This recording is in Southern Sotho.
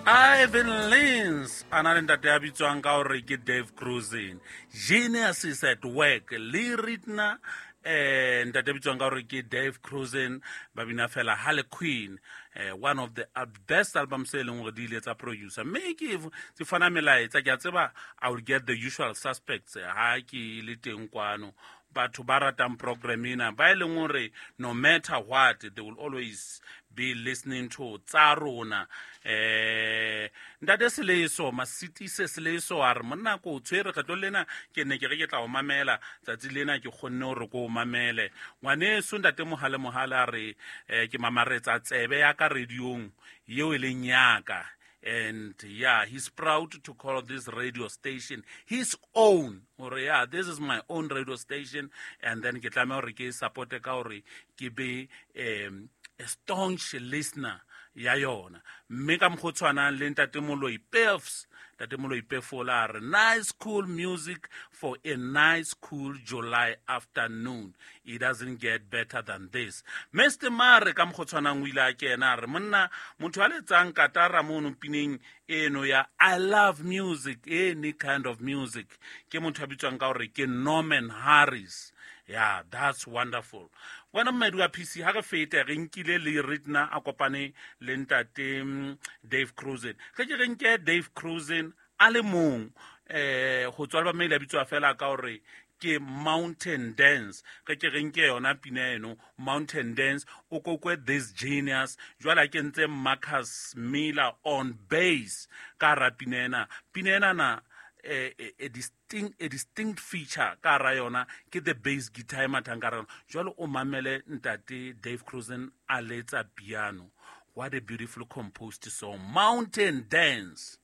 Ivan Lins a na le ntate ya bitswang ka gore ke Dave Cruisin. Genius is at work. Le Ritna ntate bitswang ka gore ke Dave Cruisin ba bina fela Harley Quinn, one of the best albums e leng gore di ile tsa producer. Mme ke ke fana melaetsa, ke a tseba I will get the usual suspects ha ke le teng kwano. Batho ba ratang program ena ba e leng gore no matter what they will always be listening to tsa rona. Ntate Seleso Masitise Seleso a re monna ko o tshwere kgetlo lena, ke ne ke re ke tla o mamela tsatsi lena, ke kgonne gore ko o mamele. Ngwaneso ntate Mohale Mohale a re ke mamaretsa tsebe ya ka radiong yeo e leng yaka. And yeah, he's proud to call this radio station his own. Or yeah, this is my own radio station. And then ke tlameha hore ke support ka hore ke be a staunch listener ya yona. Mme ka mokgwa o tshwanang le ntate Moloi Pefs, ntate Moloi Pefola a re nice cool music for a nice cool July afternoon. It doesn't get better than this. Mr. Mare ka mokgwa o tshwanang o ile a kena a re monna motho a letsang katara mono pineng eno ya I love music, any kind of music, ke motho a bitswang ka hore ke Norman Harris. Yeah, that's wonderful. Wena mmedi wa PC, ha re fete re nkile le Ritna a kopane le ntate Dave Cruisin. Ge ke re nke Dave Cruisin a le mong, go tswa le ba maile a bitswa fela ka hore ke Mountain Dance. Ge ke re nke yona pina eno Mountain Dance, o kokwe this genius. Jwale a kentse Marcus Miller on bass ka hara pina ena. Pina ena na a distinct feature ka hara yona ke the bass guitar e mathang ka hara yona. Jwale o mamele ntate Dave Cruisin a letsa piano. What a beautiful composed song, Mountain Dance.